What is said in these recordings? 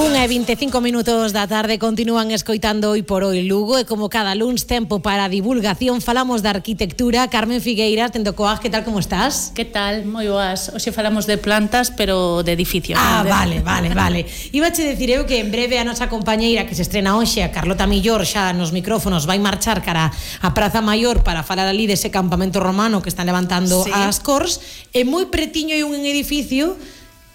1:25 da tarde, continúan escoitando Hoy por Hoy Lugo e como cada luns tempo para a divulgación falamos da arquitectura. Carmen Figueira, tendo coas, que tal, como estás? Que tal? Moi boas. Hoxe falamos de plantas, pero de edificios. Vale. Ibache decir eu que en breve a nosa compañeira que se estrena hoxe, a Carlota Millor, xa nos micrófonos vai marchar cara a Praza Maior para falar ali dese campamento romano que están levantando as Cors, e moi pretiño hai un edificio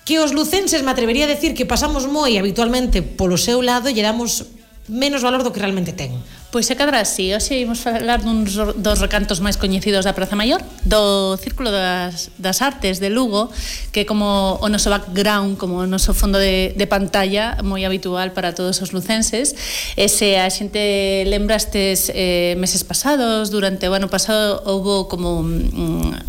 que os lucenses, me atrevería a decir, que pasamos moi habitualmente polo seu lado e lle damos menos valor do que realmente ten. Pois é cadra así. Hoxe imos falar dos recantos máis coñecidos da Praza Maior, do Círculo das Artes de Lugo, que como o noso background, como o noso fondo de pantalla, moi habitual para todos os lucenses. E se a xente lembra estes meses pasados, durante o ano pasado, houbo como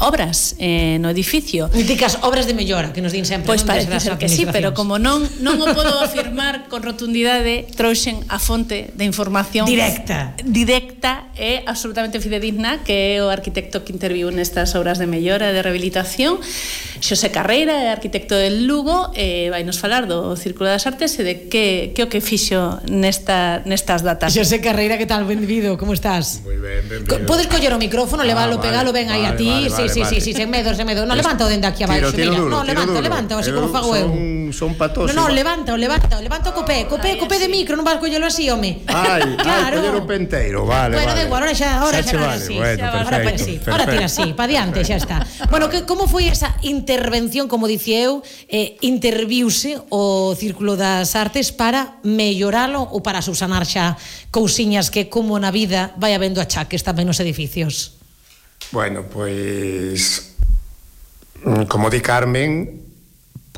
obras no edificio. Míticas obras de mellora, que nos din sempre. Pois parece ser que sí, pero como non o podo afirmar con rotundidade, trouxen a fonte de información directa e absolutamente fidedigna, que é o arquitecto que interviu nestas obras de mellora e de rehabilitación, Xosé Carreira, é arquitecto del Lugo, e vai nos falar do Círculo das Artes e de que o que fixo nestas datas. Xosé Carreira, que tal? Benvido, como estás? Moi ben, benvido. Podes coller o micrófono, levalo, pegalo ben aí a ti. Sí, sen medo. Non, levanta o dende aquí abaixo, mira. Non, levanta, así como fago eu. Son patos. Non, levanta co pé de micro, non vas collelo así, home. Claro. Coller o penteiro, vale. Bueno, da igual, ahora xa non así. Ahora tira así, pa diante, xa está. Bueno, como foi esa intervención, como dicía eu, interviuse o Círculo das Artes para melloralo ou para subsanar xa cousiñas que, como na vida, vai habendo achaques tamén nos edificios? Bueno, pois, como di Carmen,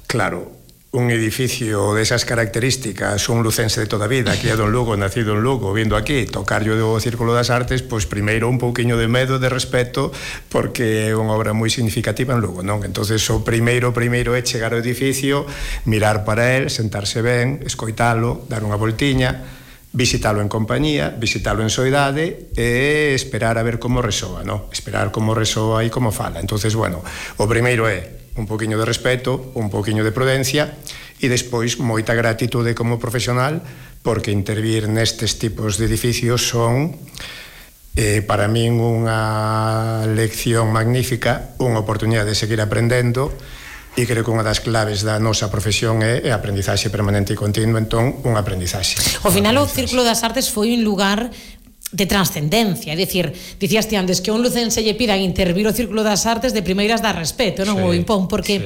claro, un edificio desas características, un lucense de toda a vida, criado en Lugo, nacido en Lugo, vindo aquí, tocarlle o Círculo das Artes, pois primeiro un pouquiño de medo, de respeto, porque é unha obra moi significativa en Lugo, non? Entonces o primeiro é chegar ao edificio, mirar para él, sentarse ben, escoitalo, dar unha voltiña, visitalo en compañía, visitalo en soidade e esperar a ver como resoa, non? Esperar como resoa e como fala. Entonces, bueno, o primeiro é un poquinho de respeto, un poquinho de prudencia e despois moita gratitude como profesional, porque intervir nestes tipos de edificios son para min unha lección magnífica, unha oportunidade de seguir aprendendo, e creo que unha das claves da nosa profesión é a aprendizaxe permanente e continuo, entón unha aprendizaxe. Ao final o Círculo das Artes foi un lugar de trascendencia, é dicir, dicías ti antes que un lucense lle pidan intervir o Círculo das Artes, de primeiras dá respeto, non o impón, porque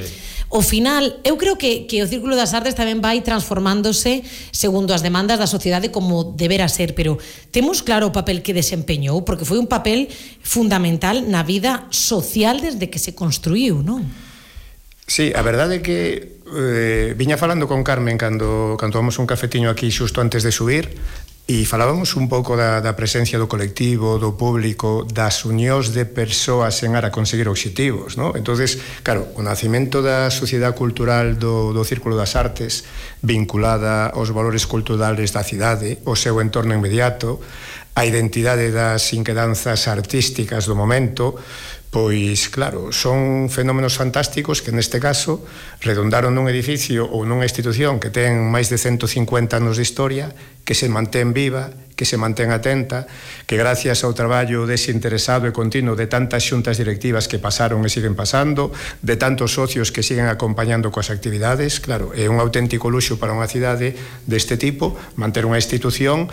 ao final, eu creo que o Círculo das Artes tamén vai transformándose segundo as demandas da sociedade como debera ser, pero temos claro o papel que desempeñou, porque foi un papel fundamental na vida social desde que se construíu, non? Sí, a verdade é que viña falando con Carmen cando tomamos un cafetiño aquí xusto antes de subir, e falábamos un pouco da presencia do colectivo, do público, das unións de persoas en ara a conseguir obxectivos, non? Entonces, claro, o nacimento da sociedade cultural do Círculo das Artes, vinculada aos valores culturales da cidade, o seu entorno inmediato, a identidade das inquedanzas artísticas do momento, pois, claro, son fenómenos fantásticos que neste caso redondaron nun edificio ou nunha institución que ten máis de 150 anos de historia, que se mantén viva, que se mantén atenta, que gracias ao traballo desinteresado e continuo de tantas xuntas directivas que pasaron e siguen pasando, de tantos socios que siguen acompañando coas actividades, claro, é un auténtico luxo para unha cidade deste tipo manter unha institución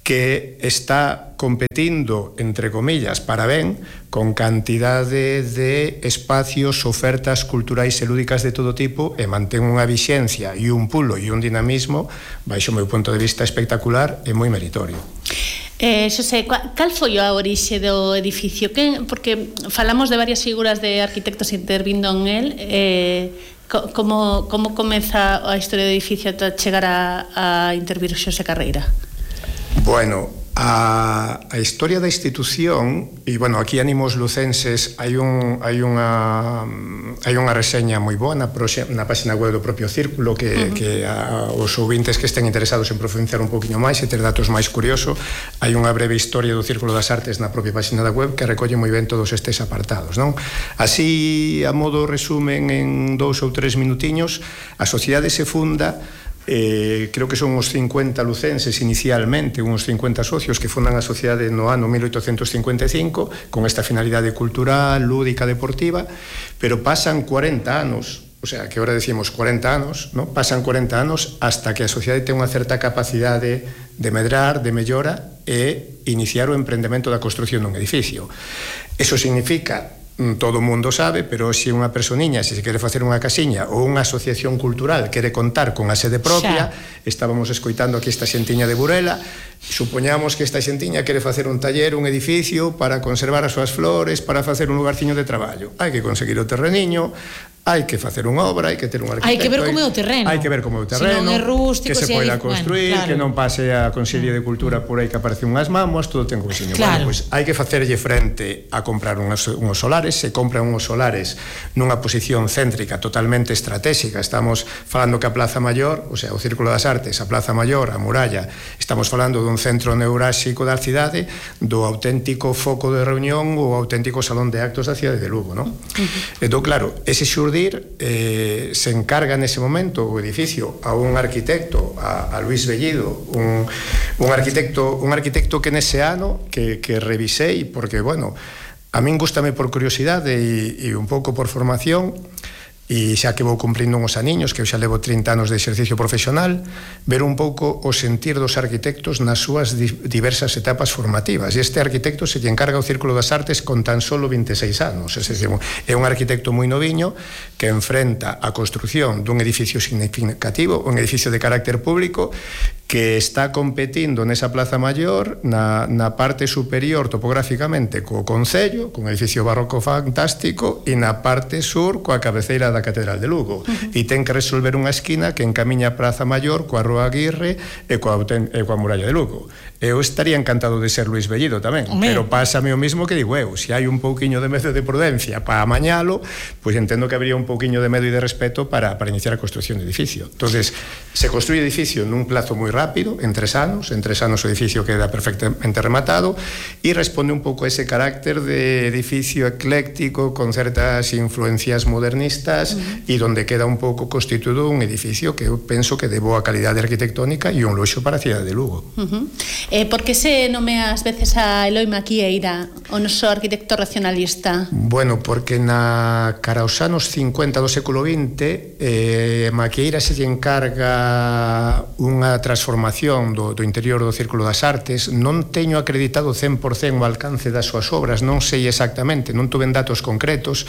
que está competindo, entre comillas, para ben, con cantidade de espacios, ofertas culturais e lúdicas de todo tipo, e mantén unha vixencia e un pulo e un dinamismo, baixo o meu punto de vista, espectacular e moi meritorio. Xosé, cal foi a orixe do edificio? Porque falamos de varias figuras de arquitectos intervindo en el, como comeza a historia do edificio ata chegar a intervir Xosé Carreira? Bueno, a historia da institución, e, bueno, aquí animo os lucenses, hai unha reseña moi boa na página web do propio Círculo que os ouvintes que estén interesados en profundizar un poquinho máis e ter datos máis curiosos, hai unha breve historia do Círculo das Artes na propia página da web que recolle moi ben todos estes apartados, non? Así, a modo resumen, en 2 ou 3 minutiños, a sociedade se funda creo que son uns 50 lucenses inicialmente, uns 50 socios que fundan a sociedade no ano 1855 con esta finalidade cultural, lúdica, deportiva, pero pasan 40 anos, o sea, que ahora decimos 40 anos, ¿no? Pasan 40 anos hasta que a sociedade ten unha certa capacidade de medrar, de mellora e iniciar o emprendemento da construción dun edificio. Eso significa, todo o mundo sabe, pero se unha personiña, se quere facer unha casiña ou unha asociación cultural quere contar con a sede propia, estábamos escoitando aquí esta xentiña de Burela, supoñamos que esta xentiña quere facer un taller, un edificio para conservar as súas flores, para facer un lugarciño de traballo. Hai que conseguir o terreniño, hai que facer unha obra, hai que ter un arquitecto. Hai que ver como é o terreno. Hai que ver como é o terreno, se non é rústico, que se poida construir, bueno, claro, que non pase a Consellería de Cultura por aí que aparecen unhas mámoas, todo ten cousiño. Claro. Bueno, pois hai que facerlle frente a comprar unhos solares, se compran unhos solares nunha posición céntrica totalmente estratégica. Estamos falando que a Plaza Maior, o sea, o Círculo das Artes, a Plaza Maior, a Muralla, estamos falando dun centro neurálxico da cidade, do auténtico foco de reunión ou auténtico salón de actos da cidade de Lugo, non? Entón, claro, ese xurdir se encarga nese momento o edificio a un arquitecto, a Luis Bellido, un arquitecto que nese ano que revisei, porque, bueno, a min gústame por curiosidade e un pouco por formación, e xa que vou cumprindo uns aniños, que eu xa levo 30 anos de exercicio profesional, ver un pouco o sentir dos arquitectos nas súas diversas etapas formativas. E este arquitecto se lle encarga o Círculo das Artes con tan solo 26 anos. É un arquitecto moi noviño que enfrenta a construción dun edificio significativo, un edificio de carácter público, que está competindo nesa Plaza Maior na parte superior topográficamente co Concello, cun edificio barroco fantástico, e na parte sur coa cabeceira da Catedral de Lugo, e ten que resolver unha esquina que encamiña a Praza Maior coa Rúa Aguirre e coa Muralla de Lugo. Eu estaría encantado de ser Luis Bellido tamén, pero pásame o mismo que digo eu, se hai un pouquiño de medo de prudencia para amañalo, pois entendo que habría un pouquiño de medo e de respeto para iniciar a construción de edificio. Entonces, se construye edificio nun plazo moi rápido, en 3 anos o edificio queda perfectamente rematado, e responde un pouco a ese carácter de edificio ecléctico con certas influencias modernistas, e donde queda un pouco constituído un edificio que eu penso que de boa calidade arquitectónica e un luxo para a cidade de Lugo. Por que se nomea ás veces a Eloi Maquieira, o noso arquitecto racionalista? Bueno, porque na cara aos anos 50 do século XX Maquieira se lle encarga unha transformación do interior do Círculo das Artes. Non teño acreditado 100% o alcance das súas obras, non sei exactamente, non tuven datos concretos,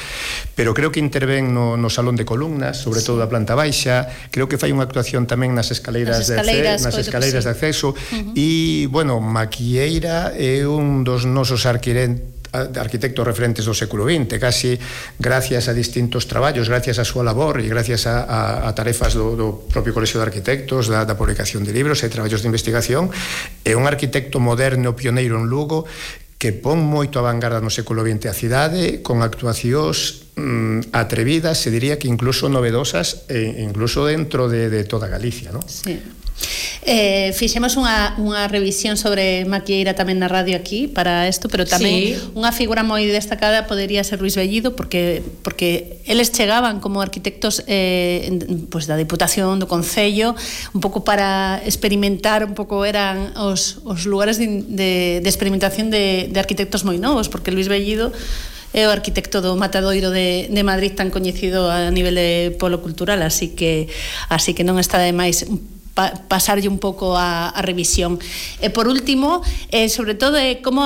pero creo que intervén no Salón de Columnas, sobre todo da planta baixa, creo que fai unha actuación tamén nas escaleiras de acceso, e, bueno, Maquieira é un dos nosos arquitectos referentes do século XX, casi gracias a distintos traballos, gracias a súa labor e gracias a tarefas do propio Colexio de Arquitectos, da publicación de libros e traballos de investigación. É un arquitecto moderno, pioneiro en Lugo, que pon moito a vanguarda no século XX a cidade, con actuacións atrevidas, se diría que incluso novedosas, incluso dentro de toda Galicia, non? Sí. Fixemos unha revisión sobre Maquieira tamén na radio aquí para isto, pero tamén unha figura moi destacada podería ser Luis Bellido, porque eles chegaban como arquitectos pois da Diputación, do Concello, un pouco para experimentar, un pouco eran os lugares de experimentación de arquitectos moi novos, porque Luis Bellido é o arquitecto do Matadoiro de Madrid, tan coñecido a nivel de polo cultural, así que non está de máis pasarlle un pouco a revisión. E por último, sobre todo, como